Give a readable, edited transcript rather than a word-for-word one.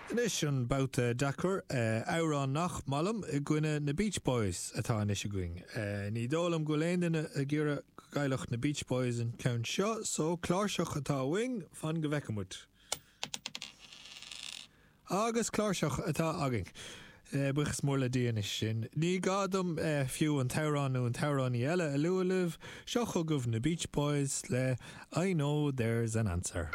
Anois an babhta deacair, amhrán nach maith liom i gcoinne na Beach Boys atá anois againn. Ní dóigh liom go bhfuil aon duine ag iarraidh go gcaillfeadh na Beach Boys an ceann seo, so cláirseach atá uainn, fan go bhfeicfidh muid. Agus cláirseach atá againn. Buíochas mór le Dia anois sin. Ní gá dom fiú an t-amhrán nó an t-amhránaí eile a lua libh, seo chugaibh na Beach Boys le I Know There's an Answer.